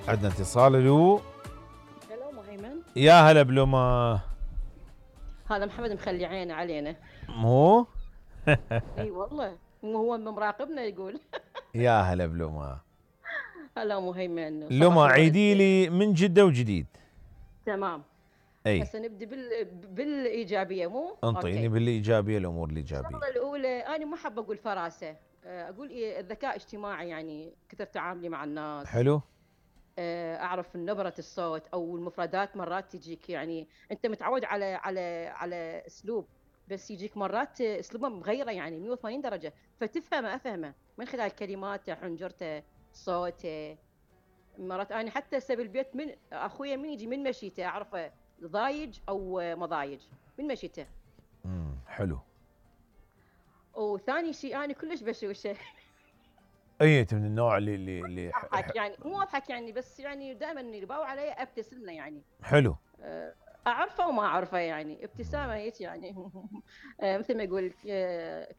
عندنا اتصال. الو هلا مهيمن. يا هلا بلوما. هذا محمد مخلي عينه علينا. مو اي والله هو مراقبنا يقول. يا هلا بلوما. هلا مهيمن، لوما صباح الورد. عيدي لي من جدة وجديد. تمام. اي هسه نبدي بالايجابيه مو انطيني اوكي. بالايجابيه، الامور الايجابيه. الشغله الاولى انا ما حابه اقول فراسه، اقول إيه، الذكاء الاجتماعي، يعني كثر تعاملي مع الناس. حلو. اعرف نبره الصوت او المفردات، مرات تجيك يعني انت متعود على اسلوب، بس يجيك مرات اسلوبه مغيره يعني 180 درجه، فتفهمه افهمه من خلال كلماته، حنجرته، صوته. مرات انا حتى هسه بالبيت من اخويا من يجي من مشيته اعرفه ضايج او مضايج من مشيته. حلو. وثاني شيء انا كلش بشوشه. اي انت من النوع اللي اضحك يعني مو اضحك يعني، بس يعني دائما اللي باو علي ابتسم له يعني. حلو. اعرفه وما اعرفه يعني ابتسامه هيك يعني. مثل ما يقول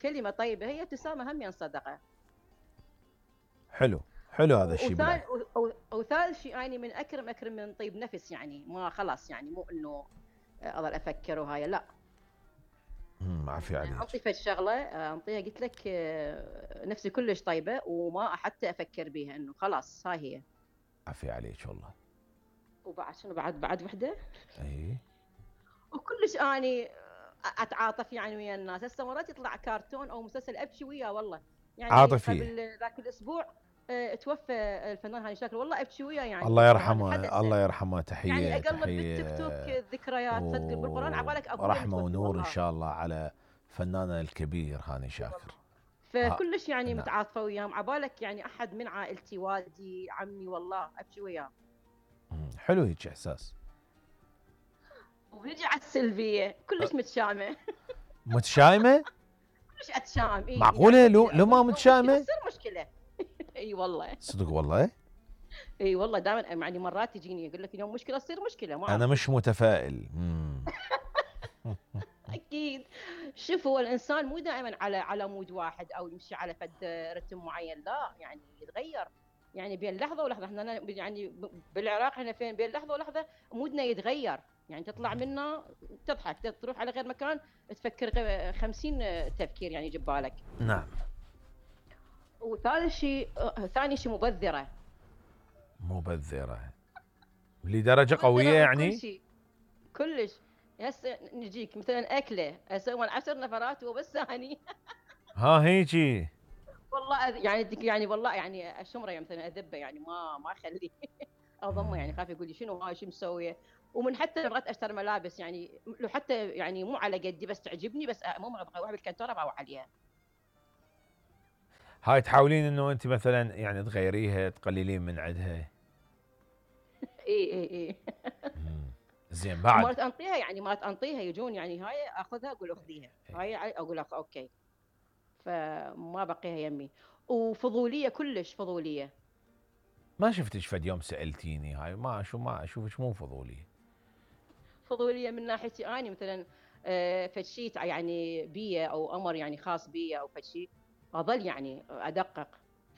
كلمه طيبه هي ابتسامه هم صدقه. حلو. حلو هذا الشيء وثالث بالله. وثالث شيء اني من اكرم من طيب نفس، يعني ما خلاص يعني مو انه اظل افكر وهاي لا. عافية عليك. انطي فد شغله انطيها قلت لك نفسي كلش طيبه وما حتى افكر بيها انه خلاص هاي هي. عافية عليك والله. وبعد شنو بعد وحده. اي وكلش اني اتعاطف يعني ويا الناس. هسه مرات يطلع كرتون او مسلسل ابكي وياه والله. يعني عاطفية. قبل ذاك الاسبوع توفى الفنان هاني شاكر، والله ابكي وياه يعني الله توفى هذا يرحمه الله حدث. يرحمه. يعني تحية اقلب بالتيك توك تحية الذكريات صدق بالقران عبالك ابويا ورحمة متوفي ونور ان والله. شاء الله على فناننا الكبير هاني اي شاكر. والله. فكلش يعني نعم. متعاطفه وياهم، عبالك يعني احد من عائلتي، والدي، عمي، والله ابكي وياه. حلو هيك احساس. وبيجي على السلبيه كلش متشائمه. متشائمة؟ كلش اتشائم يعني معقولة لو ما مشكله متشائمة؟ تصير مشكله. اي والله. صدق والله. اي والله دائما يعني مرات تجيني يقول لك اليوم مشكله تصير مشكله ما انا اعرف مش ليش. متفائل. اكيد. شوف هو الانسان مو دائما على مود واحد او يمشي على فد رتم معين، لا يعني يتغير. يعني بين لحظه ولحظه احنا يعني بالعراق احنا فين بين لحظه ولحظه مودنا يتغير. يعني تطلع منا تضحك، تروح على غير مكان تفكر 50 تفكير يعني يجي ببالك. نعم. وثالث شيء ثاني شيء مبذره. مبذرة لدرجة مبذره قوية بكل يعني. شيء كلش. هسه نجيك مثلا اكله اسوي 10 نفرات وبس ثاني. ها هيجي. والله يعني والله يعني اشمره يعني مثلا اذبه يعني ما اخليه. اضمه يعني خاف يقول لي شنو هاي شو مسويه. ومن حتى مرات اشتري ملابس يعني لو حتى يعني مو على قدي بس تعجبني بس مو ابغى اروح بالكنتور ابغى عليها. هاي تحاولين انه انت مثلا يعني تغيريها تقللين من عندها. اي. زين بعد. ومرات انطيها يعني مرات انطيها يجون يعني هاي اخذها اقول اخذيها هاي اقول اوكي. فما بقيها يمي. وفضوليه كلش فضوليه. ما شفتك فد يوم سالتيني هاي ما اشوفك مو فضولي. فضوليه من ناحيتي اني مثلا فشي يعني بيه او امر يعني خاص بيه او فشي. اظل يعني ادقق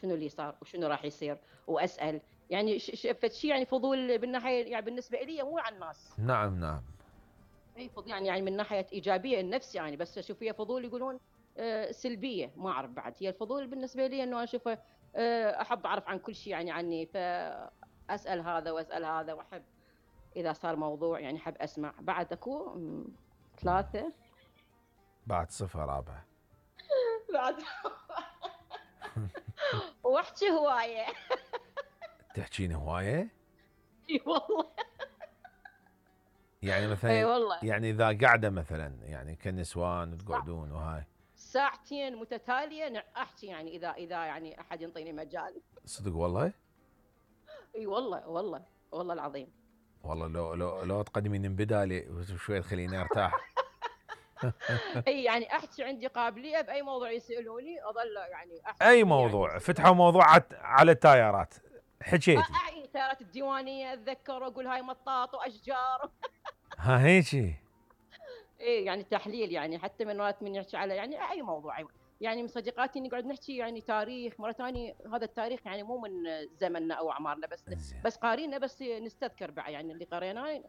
شنو اللي صار وشنو راح يصير واسال. يعني فشي يعني فضول بالناحيه يعني بالنسبه لي مو عن الناس. نعم نعم. اي فضول يعني من ناحيه ايجابيه النفس يعني، بس اشوف فيها فضول يقولون سلبيه ما اعرف بعد. هي الفضول بالنسبه لي انه اشوفه احب اعرف عن كل شيء يعني عني، فاسال هذا واسال هذا واحب اذا صار موضوع يعني احب اسمع. بعد اكو 3. بعد صفة رابعة. بعد واحكي هوايه. تحكين هواية. اي والله. يعني اي مثلا والله. يعني اذا قاعدة مثلا يعني كنسوان تقعدون وهاي. ساعتين متتاليه احكي يعني اذا يعني احد ينطيني مجال. صدق والله. اي والله والله والله العظيم. والله لو تقدمين من بدالي شوي تخليني ارتاح. اي يعني احكي عندي قابليه باي موضوع يسالوني اظل يعني اي احكي يعني موضوع مثل فتحوا موضوع على التايرات حكيتي. اعي تارات الديوانيه اتذكر واقول هاي مطاط واشجار. ها هيجي. اي يعني تحليل يعني حتى من وقت من يحكي على يعني اي موضوع يعني من صديقاتي نقعد نحكي يعني تاريخ، مرة ثانية هذا التاريخ يعني مو من زمننا أو أعمارنا، زين. بس قارينا، بس نستذكر بعد يعني اللي قريناه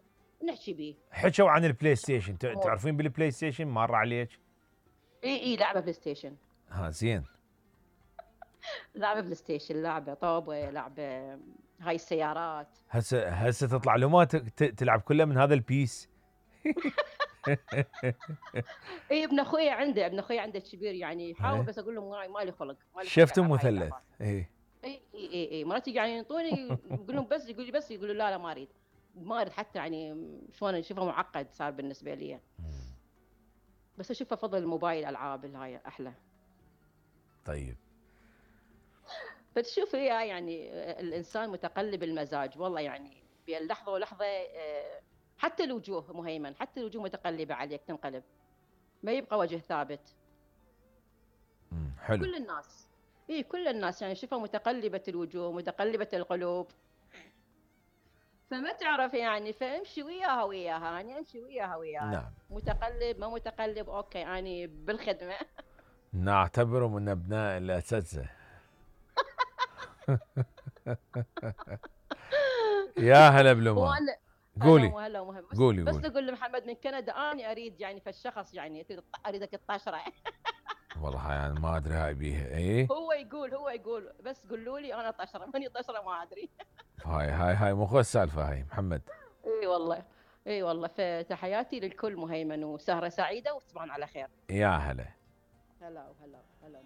نحكي به. حكوا عن البلاي ستيشن، أمور. تعرفين بالبلاي ستيشن مر عليك؟ إي لعبة بلاي ستيشن. ها زين. لعبة بلاي ستيشن، لعبة طوبة، لعبة هاي السيارات. هسه تطلع له ما تلعب كله من هذا البيس. اي ابن اخوي عنده الكبير يعني يحاول، إيه. بس اقول له مالي خلق، مالي خلق شفتم العب هاي مثلث اللعبات. ايه. اي مرات يجي يعني ينطوني، يقول لهم بس، يقول لي بس، يقول له لا ما اريد، ما اريد حتى يعني، شلون اشوفه معقد صار بالنسبه لي. بس اشوفه فضل الموبايل، العاب هاي احلى. طيب. فتشوف هي يعني الانسان متقلب المزاج والله، يعني بين لحظه ولحظه. حتى الوجوه مهيمن، حتى الوجوه متقلبه عليك، تنقلب، ما يبقى وجه ثابت. حلو. كل الناس، اي كل الناس يعني شوفها متقلبة الوجوه، متقلبة القلوب، فما تعرف يعني، فامشي وياها وياها، يعني امشي وياها وياها، نعم. متقلب ما متقلب اوكي، يعني بالخدمة. نعتبره من ابناء الاساتذه. يا هلا بلما. وانا هلا قولي. وهلا ومهم، قولي بس قولي. نقول لمحمد من كندا اني اريد يعني فالشخص يعني اريدك الطشره. والله يعني ما ادري هاي بيها ايه. هو يقول بس قولوا لي انا طشره، ماني طشره ما ادري. هاي مو السالفه هاي محمد. اي والله، اي والله، فتحياتي للكل مهيمن، وسهره سعيده وتصبحون على خير. يا هلا. هلا وهلا هلا.